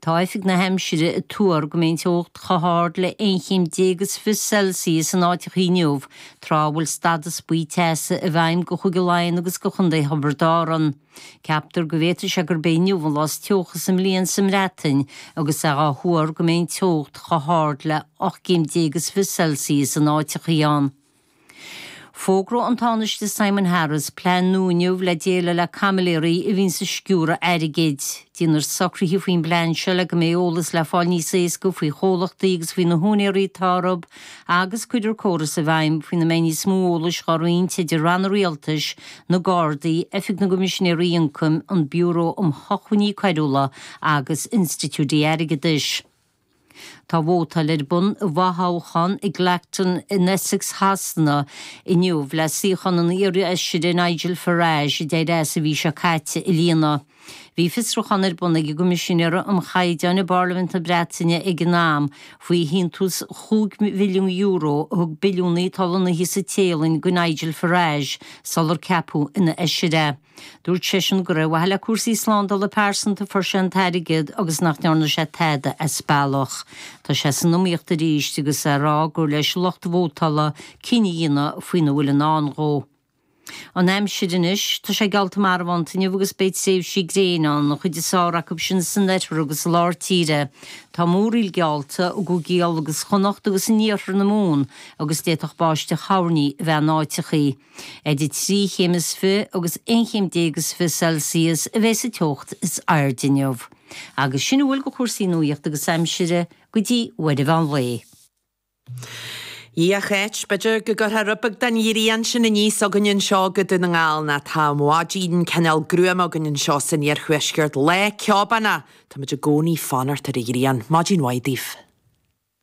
Tá Oifig na hAimsire ag tuar go mbeidh an teocht chomh hard le 11 chéim Celsius in áiteachaí inniu, tráth a bhfuil stadas buí teasa i bhfeidhm go Chúige Laighean agus go Chontae Thiobraid Árann. Ceaptar go bhféadfadh sé gurb é inniu an lá is teocha sa mbliain sa mBreatain agus é á thuar go mbeidh an teocht chomh hard le 18 chéim Celsius in áiteachaí ann. Fógróidh an Tánaiste Simon Harris plean nua inniu le déileáil le caimiléirí a bhíonns ag sciúradh airgid. Déanfar socruithe faoin bplean seo le go mbeidh eolas le fáil níos éasca faoi chomhlachtaí agus faoi na húinéirí atá orthu agus cuirfear córas i bhfeidhm faoina mbeidh níos mó eolais dhá roinnt idir ranna rialtais, na Gardaí, Oifig na gCoimisinéirí Ioncaim, an Biúró um Shócmhainní Coiriúla agus institiúidí airgeadais. Tá vótáil ar bun i bhfothoghchán i gClacton in Essex Shasana inniu le suíochán an iarfheisire Nigel Farage a d'éirigh as an mhí seo caite a líonadh. Bhí fiosrúchán ar bun ag an gCoimisinéir um Chaighdeáin i bParlaimint na Breataine ag an am faoi shíntiús €5 mhilliún a thug billiúnaí atá lonnaithe sa Téalainn do Nigel Farage sular ceapadh ina fheisire é. Dúirt seisean gur ar mhaithe le cúrsaí slándála pearsanta a fuair sé an t-airgead agus nach ndearna sé tada as bealach. Tá sé san iomaíocht arís agus é ag rá gur leis lucht vótála cinneadh a dhéanamh faoina bhfuil i ndán dhó. An aimsir anois, tá sé geallta marbhánta inniu agus beidh tréimhsí gréine ann, an chuid is fearr acu sin san oirthear agus i lár tíre. Tá múraíl geallta i gCúigí Uladh agus Chonnacht agus in iarthar na Mumhan agus d'fhéadfadh báisteach thoirní a bheith in áiteachaí. Idir 3 chéim is 20 agus 11 chéim is 20 Celsius a bheidh sa teocht is airde inniu. Agus sin a bhfuil de chúrsaí nuachta agus aimsire go dtí uair an mheán lae. A Cháit, b'fhéidir go gcuirfeá rud beag den ghrian sin aníos againn anseo go Dún na nGall, nó tá maidin cineál gruama againn anseo san iarthuaisceart. Lá ceobánach! Táimid i gcónaí ag fanacht ar an ghrian. Maidin mhaith daoibh.